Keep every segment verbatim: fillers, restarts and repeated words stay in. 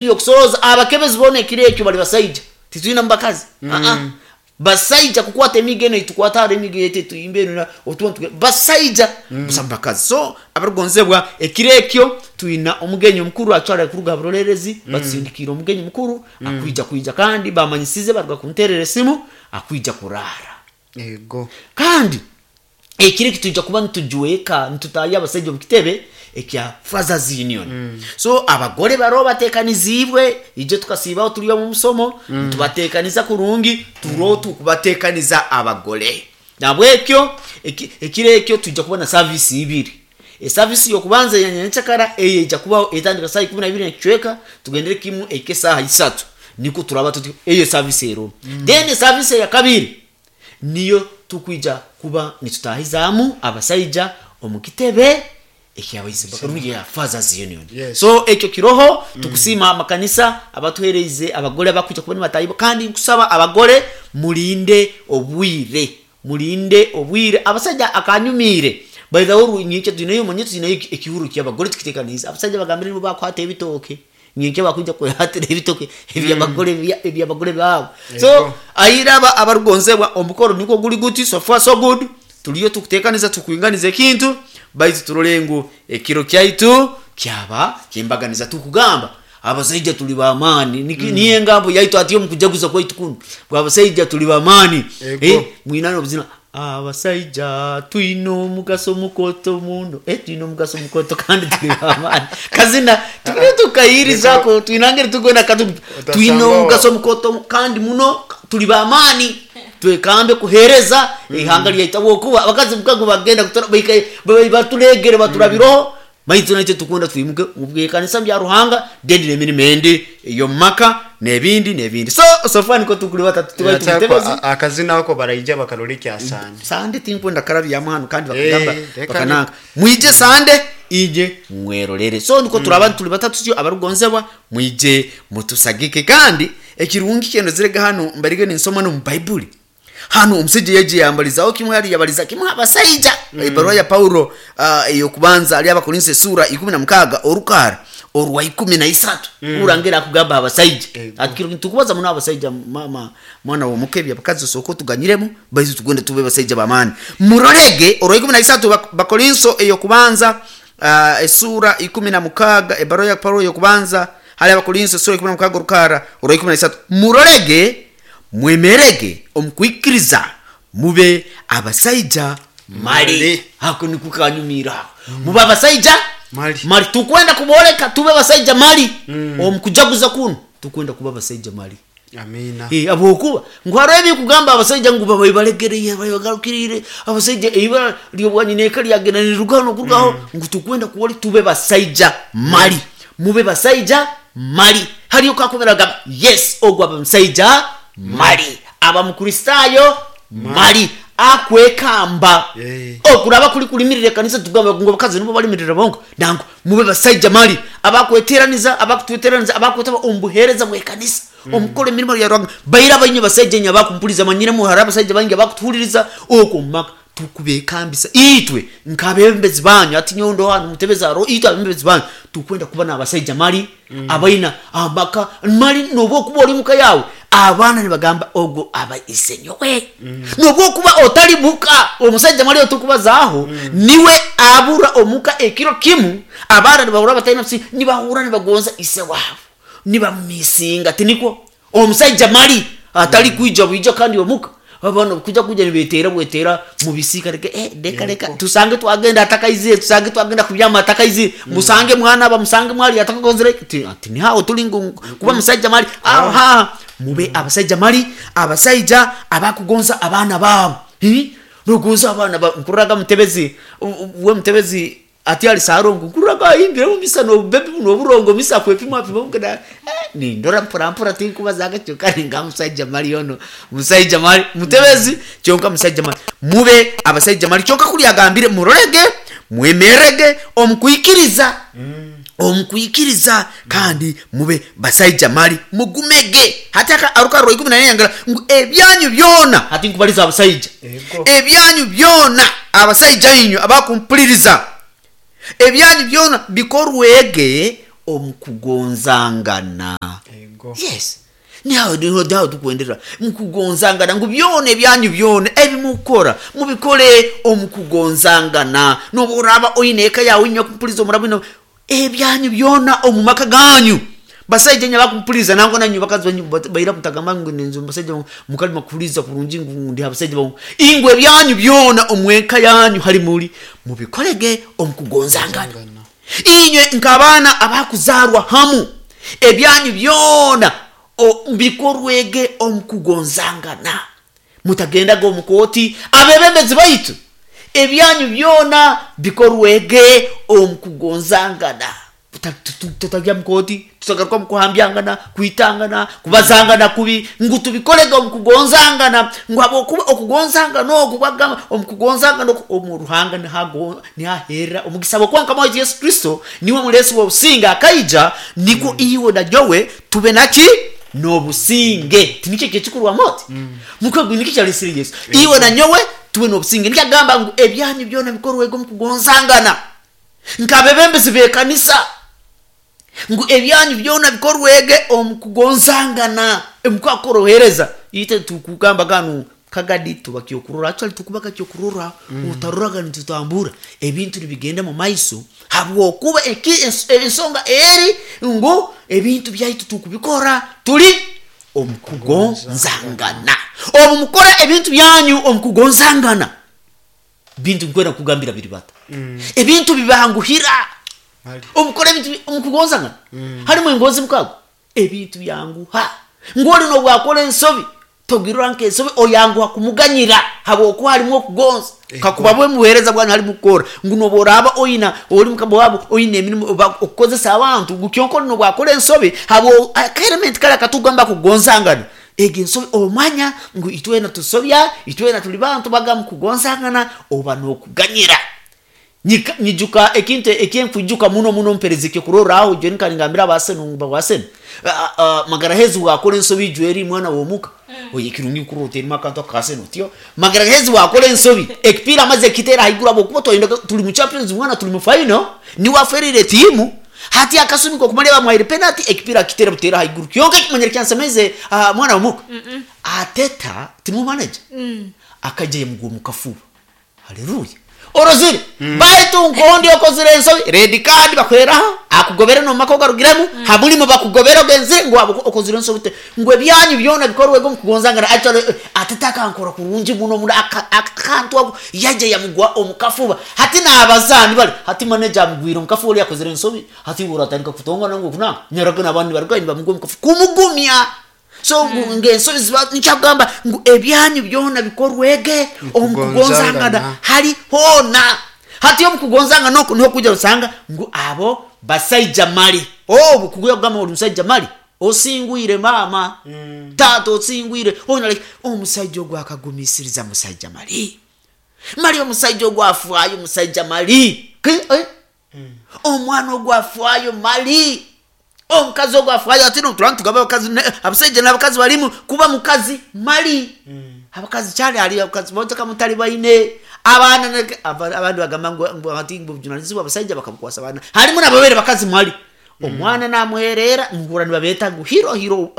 Okusoroza abakebezi boona ekiro ekyo bali basaija, titwina mu bakazi. Aa, basaija kukwata emigo eno eitukwata hare, emigo yaitu etuyimba eno otuba nituge basaija busa mu bakazi. So abarukugonzebwa, ekiro ekyo twina omugenyi omukuru actually kuruga ha burolerezi batusindikiire omugenyi mukuru akwija kwija, kandi bamanyisize baruga kunterera esimu, akwija kuraara. Ego. Kandi ekiro eki twija kuba nitujweka, nitutahya abasaija omu kitebe ekya Fathers Union. So abagore baroho batekaniziibwe, ijo tukasiibaho turi omu musomo nitubatekaniza kurungi, turoho tukubatekaniza abagore. Nahabwekyo eki- ekiro ekyo twija kuba na service ibiri. Eservice y'okubanza eya nyenkyakara eyo eija kubaho etandika saaha ikumi na ibiri n'ekicweka, tugendere kimu ehike esaaha isatu, nikwo turaba tuti eyo service eroho. Then eservice eya kabiri niyo tukwija kuba nitutahizaamu abasaija omu kitebe ekyabaisebakarundi ya Fathers Union. Yes. So ekyo kiroho. Tukusiima amakanisa abatuhereize abagore abakwija kuba nibatahibwa, kandi nkusaba abagore murinde obwire, murinde obwire. Abasaija akanyumiire by the way, nyenkya twineyo, manye twineyo ekihuro ky'abagore tukitekaniize. Abasaija bagambire nibo bakwata ebitooke nyenkya, bakwija kwehatira ebitooke ebyabagore, ebyabagore baabo. So Ego. airaba abarukugonzebwa, omukoro nikwo guri guti. So far so good, turiyo tukutekaniza, tukwinganiza ekintu, baitu turole ngu ekiro kyaitu kyaba kyembaganiza. Tukugamba abasaija tuli b'amaani. Niki- niyo engambo yaitu ati omu kujaguza kwaitu kunu bwa abasaija tuli b'amaani. Ego. Eh, mwinana obuzina, abasaija twine omugaso mukoto muno, eh, twine omugaso mukoto kandi tuli b'amaani. Kazina tukire tukayirizako, twinangire tukwenda katu twine Utasanga omugaso mukoto kandi muno, tuli b'amaani, twekambe kuhereza ihanga lyaitu, habwokuba abakazi mukago bagenda kutora baika- ba- baturegere baturabiroho, baitu naitwe tukwenda twimuke mubwekanisa bya Ruhanga, then n'emirimo endi ey'omu maka n'ebindi n'ebindi. So so far niko tukuri batatu tubaye Yakyakwa, tumutebezi. a- akazina ako baraija bakarora ekya Sande. Sande tinkwenda karabyamu hanu kandi bakagamba Eh, reka. bakananga mwije Sande, ije mwerorere. So niko turaba tuli batatu tyo. Abarugonzebwa, mwije mutusagike. Kandi ekirungi kyendozerega hano, mbarige ninsoma no mu Baibuli hano, omusajja yaje yambalizaho kimwe, hali yabaliza kimwe abasaija. Ebaruwa ya Paulo uh, eyokubanza ali Abakorinso esura ikumi na mukaaga orukara orwa ikumi na isatu, urangira akugamba abasaija. Ego. Ati tukubaza muno abasaija, mama mwana womukebya abakazi osooka otuganyiremu, baitu tugende tube basaija bamaani. Murorege orwa ikumi na isatu, Bak- bakorinso eyokubanza uh, esura ikumi na mukaaga, ebaruwa ya Paulo eyokubanza hali Abakorinso esura ikumi na mukaaga orukara orwa ikumi na isatu: murorege, mwemerege omukwikiriza, mube abasaija mali. Mali. Ako nikukanyumira ako, mube abasaija Mali. mali. Tukwenda kuboleka tube abasaija mali omukujaguza kuno, tukwenda kuba abasaija mali. Amina. Eh, habwokuba ngu hariho ebikugamba abasaija ngu babaye balegereye, bagarukirire abasaija, ibara lyobwanyina lyagenda nirugaho nokurugaho, ngu tukwenda kuwali tube basaija mali. Mube basaija mali, hariyo kakubera gamba yes, ogwo aba musaija mali, aba mukristaayo mali, akwekamba. Eh. Okuraba kuri kurimirira ekanisa, tugamba ngu abakazi nibo barimirira bonka. Nangu mube basaija mali abakweteraniza, abakutweteraniza, abakwetaba omu buheereza bw'ekanisa, omukora emirimo ya Ruhanga. Baira bainye basaija nye abakumpuliza, manyiremu hari abasaija baingi abakutuhuririza okwo omu maka, tukubekambisa itwe nk'abebembezi banyu. Ati nyowe ndo hanu mutebezi aro, itwe abebembezi banyu tukwenda kuba n'abasaija mali abaina amaka mali. Nobu okuba ori muka yawe, abaana nibagamba ogwo aba isenyowe, nobu okuba otali muka. Omusaija mali otukubazaaho niwe abura omuka ekiro kimu, abaana nibahura bataina busi, nibahura nibagonza ise waabo, nibamumisinga. Tinikwo omusaija mali atali kwija bwija kandi omuka abaana kuja kuja nibetera bwetera mubisika, reka eh, reka reka tusange twagenda atakaizire, tusange twagenda kubyama atakaizire, musange mwana aba, musange mwali atakakozere. Ti ati ni hawo tuli ngu kuba musaija mali aho ha. Mube abasaija mali, abasaija abakugonza abaana baabo. Hi? Nogonza abaana ba nkurraga mutebezi u- u- we mutebezi ati ali sarongo, nkurraga ayimbire mumisa nobubebi buno oburongo misa kwepima pima mukeda, eh, nindora mpora mpora, tinkubazaga kyonka ninga musaija mali ono musaija mali mutebezi kyonka musaija mali. Mube abasaija mali. Kyonka kuli agambire murorege, mwemerege omukwikiriza, omukwikiriza, kandi mube basaija mali, mugumege. Hati aka aruka rwa ikumi na yangala ngu ebyanyu byona, hati nkubaliza abasaija. Ego. Ebyanyu byona, abasaija inywe abakumpuliriza, ebyanyu byona bikorwege. Omukugonzangana. Ego. Yes, niho niho niho tukwendera mukugonzangana, ngu byona ebyanyu byona ebimukora mubikore omukugonzangana. Nobu oraba oine eka yawe, inywe kumpuliza omuraba ino ebyanyu byona omu maka ganyu, basaija nya bakumpuliza nangwa nanyu bakazi banyu bat- baira mutagamba ngu ninzu basaija mukalima kuhuliza kurungi ngu ndi abasaija bangu ingwe ebyanyu byona omweka yanyu hari muri mubikorege omukugonzangana. Ngana. Inywe nk'abaana abakuzarwa hamu, ebyanyu byona o- bikorwege omukugonzangana, mutagendaga omukooti. Abebembezi baitu, ebyanyu byona bikorwege omukugonzangana. Tuta- tutu- tutagya mukooti, tutagaruka mukuhambyangana, kwitangana, kubazangana kubi, ngu tubikorege omukugonzangana, ngu habwokuba okugonzangana oku bagamba omukugonzangana oku omu Ruhanga nihago- nihaherera omugisa, bwokuba Mukama waitu Yesu Kristo niwe mulesi w'obusinge, akaija nikwo iwe na nyowe tube naki n'obusinge. Tinikyo kyekikurwamu oti mukwe nikyo kyalesire Yesu iwe na nyowe tube n'obusinge. Nikyo agamba ngu ebyanyu byona bikorwege omukugonzangana. Nk'abebembezi b'ekanisa, ngu ebyanyu byona bikorwege omukugonzangana, emukakora ohereza ite tukugamba ganu kagadi tuba kyokurora, actually tukubaga kyokurora, utaroraga nitutambura ebintu nibigenda mu maiso, habwokuba eki- ens- ensonga eri ngu ebintu byaitu tukubikora tuli omukugonzangana. Obu mukora ebintu byanyu omukugonzangana, bintu nkwenda kugambira biri bata, ebintu bibanguhira. Mali. Omukora ebintu bi- omukugonzangana harimu engonzi mukago, ebintu byanguha, ngoli nobwakora ensobi togirora nkensobi, oyanguha kumuganyira habwokuba harimu okugonza. Ego. Kakuba bwe mubuhereza bwanyu harimu kukora ngu noboraba oina ori mukama wabo oina emirimu oba okukozesa abantu, ngu kyonka oli nobwakora ensobi habwo akaelement kari akatugamba kugonzangana, ego ensobi omanya ngu itwena tusobya, itwena tuli bantu, bagamba kugonzangana oba nokuganyira. Nyika- nyijuka ekintu ekyenkwijuka muno muno mpereza ekyokurorraho jwe nkaringambira abaseno ngu bawaseno Magarahezi wakora ensobi jweri mwana womuka oye kirungi kurota erimo akantu akaseno tyo Magarahezi wakora ensobi ekipira amaze ekitera haiguru, habwokuba twayenda tuli mu Champions, mwana tuli mu final, niwaferire tiimu hati akasumi kokumalya bamwaire penalty, ekipira akitera butera haiguru. Kyonka ekimanyire kyansemeze, ah, mwana womuka ateta timu manager akaija yamugwa mukafuba, haleluya, orozire baitu nkondi okozire ensobi, red card bakweraho, akugobere nomaka ogarugiremu hamulimo bakugobera ogenzire ngu abo okozire ensobi te ngu ebyanyu byona bikorwego omukugonzangana. Actually, eh, ateta akankora kurungi muno muno aka- akantu ako yaija yamugwa omukafuba. Hati n'abazaani bali hati manager amugwire omukafuba, oli akozire ensobi, hati uratandika kutongana ngu kunanga nyaraga n'abandi barugayo nibamugwa omukafuba kumugumya. So ngu ngensobi ziba nikyagamba ngu ebyanyu byona bikorwege omukugonzangana Mukugonzangana. hari hona. Hati omukugonzangana oku niho kuja osanga ngu abo basaija mali, obu kuguya kugamba oli musaija mali, osingwire mama, tata osingwire ona omusaija ogwo akagumisiriza, musaija mali mali, omusaija ogwo afwayo, musaija mali. Ki- eh? Omwana ogwo afwayo mali, omukazi ogwo afwayo. Ati no turani tugamba abakazi ne- abasaija n'abakazi balimu kuba mukazi mali. Abakazi kyali hali abakazi boteka mutali baine abaana ne- aba- abandi bagamba ngu ngu ati ngu obujunanizibwa abasaija bakabukwasa abaana, harimu nababere bakazi mali, omwana namuherera muhura nibabeta ngu hero hero,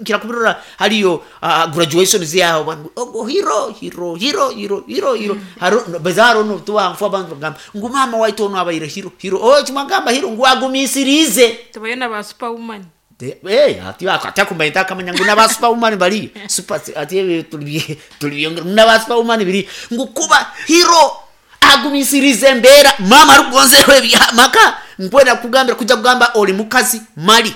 nkira kubirora hariyo ah, graduation ziyaho bantu ogo hero hero hero hero hero hero haro bazaro no tuwa mfu abantu bagamba ngu mama waitu ono abaire hero hero, oh kimagamba hero ngu agumisirize. Tubayo na ba superwoman. Te- eh, ati atakumanya akamanya ngu naba superwoman bali super, ati ebyo tuli tuli naba superwoman biri ngu kuba hero agumisirize embeera mama arukugonzeho ebyamaka. Nkwenda kugambira kuja kugamba oli mukazi mali,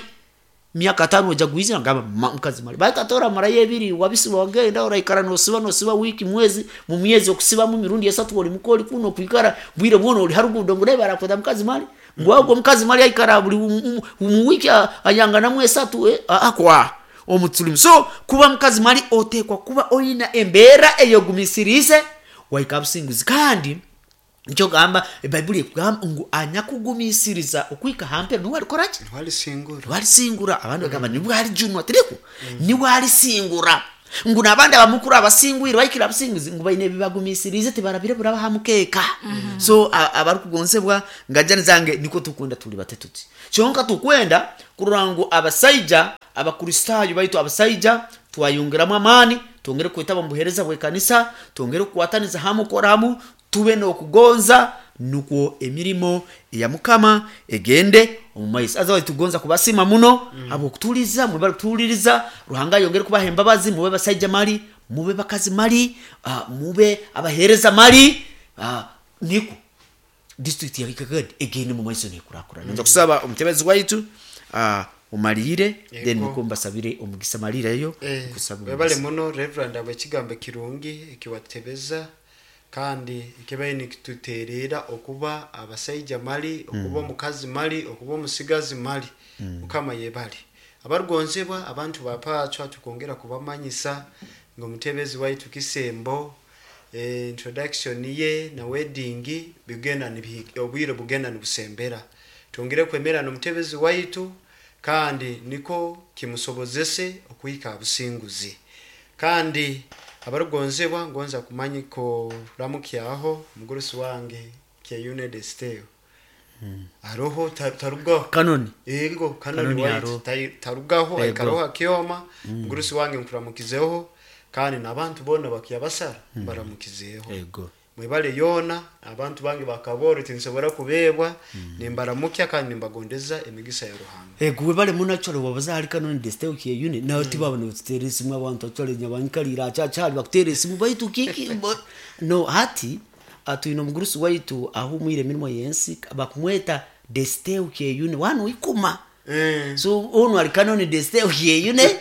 myaka tano oja guiza ngamba ma- mukazi mali baitatora marayo ebiri wabisiba wagenda oraikara nosiba nosiba wiki mwezi mu myezi okusibamu mirundi esatu oli mukoli kuno kwikara bwire bwona oli harugudo ngu naye barakweta mukazi mali, ngu agwo mukazi mali aikara buli mu- mu mu wiki a- ayanganamu esatu, eh, a- akwa omutulimu. So kuba mukazi mali otekwa kuba oyina embeera eyogumisirize waika businguzi. Kandi nikyo gamba ebaibuli ekugamba ngu anyakugumisiriza okwika hampero niwe alikoraki? Walisingura. Niwalisingura. Abandi bagamba nibwo alijunwa, tiriko niwe alisingura. Ngu n'abandi abamukuru abasingwire bahikire abasinguzi ngu baine ebibagumisiriize tibarabire buraba ha mukeeka. So a- abarikugonzebwa ngajani zange, niko tukwenda tuli bate tuti kyonka tukwenda kurora ngu abasaija abakristaayo baitu abasaija twayongeramu amaani, twongere kwetaba mu buheereza bw'ekanisa, twongere kukwataniza hamu, kukora hamu, tube n'okugonza, nukwo emirimo eya Mukama egende omu maiso. Aza tugonza kubasima muno habwokutuhuliriza, mwebale kutuhuliriza. Ruhanga ayongere kubaha embabazi, mube basaija mali, mube bakazi mali, uh, mube abaheereza mali, uh, niko district ya Kagadi egende mu maiso nekurakurana. Nza kusaba omutebezi waitu uh, omalire, then Yego. niko mbasabire omugisa. Malireyo. Eh, nkusaba webale omugisa. Muno Reverend abwekigambo kirungi ekiwatebeza kandi ekibaire nikituterera okuba abasaija mali, okuba omukazi mali, okuba omusigazi mali. Mukama yebale. Abarugonzebwa abantu bapacwa, tukongera kubamanyisa nga omutebezi waitu Kisembo, eh, introduction ye na wedding bigenda nibihi- obwire bugenda nibusembera. Twongere kwemera n'omutebezi waitu kandi niko kimusobozese okuhika abusinguzi. Kandi abarugonzebwa, ngonza kumanya ko ramukyaho omugurusi wange Kyeyune Desteo aroho, ta- tarugaho. Kanoni. Ego, kanoni. Kanoni. Waitu Aroho. tai- tarugaho. Ego. Aikaraho akyoma. Mugurusi wange, nkuramukizeho kandi n'abantu bona bakyabasara baramukizeho. Ego. Mwebale yoona. Abantu bange bakaboro tinsobora kubebwa, nimbaramukya kandi nimbagondeza emigisa ya Ruhanga. Ego, webale muno. Actually wabaza hali Kanoni Desteo Kyeyune, nawe tibaba nibatutera esimu abantu. Actually nyabanyikalira achakyali bakutera esimu baitu kiki bo- no hati ah, twine omugurusi waitu ahumwire emirimo yensi, bakumweta Desteo Kyeyune wanu ikuma. Eh. So onu ali Kanoni Desteo Kyeyune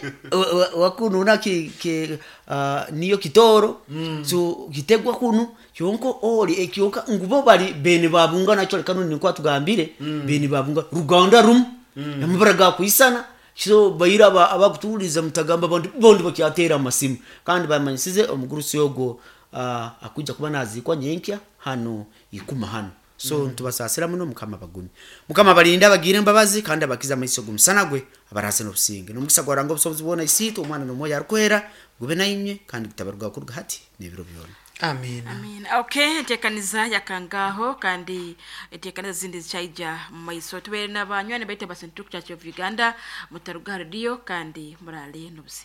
wakununa ki, ki, uh, niyo kitoro mm. So kitegwa kunu kyonko oli ekyoka ngubo bali bene babunga. Nakyo Kanoni niko atugambire mm. bene babunga ruganda rumu mm. amabara gakwisana. So baira aba- abakutuwuliriza mutagamba bondi bondi bakyatera amasimu. Kandi bamanyisize omugurusi ogwo uh, akuija kuba nazikwa nyenkya hano ikuma hano. So mm. ntubasasira muno. Mukama bagumye, Mukama abalinde, abagire embabazi kandi abakize amaiso g'omusana gwe, abaraze n'obusinge n'omugisa gwaranga obusobozi bwona, Isiitwe, Omwana n'Omwoyo Arukwera, gube nainywe kandi gutabarugaho kuruga hati n'ebiro byona. Amina. Amina. Okay, enteekaniza yakangaho kandi enteekaniza zindi zikyaija mu maiso. Tubeere n'abanywani baitu aba Central Church of Uganda, mutaruga rediyo kandi murale n'obusinge.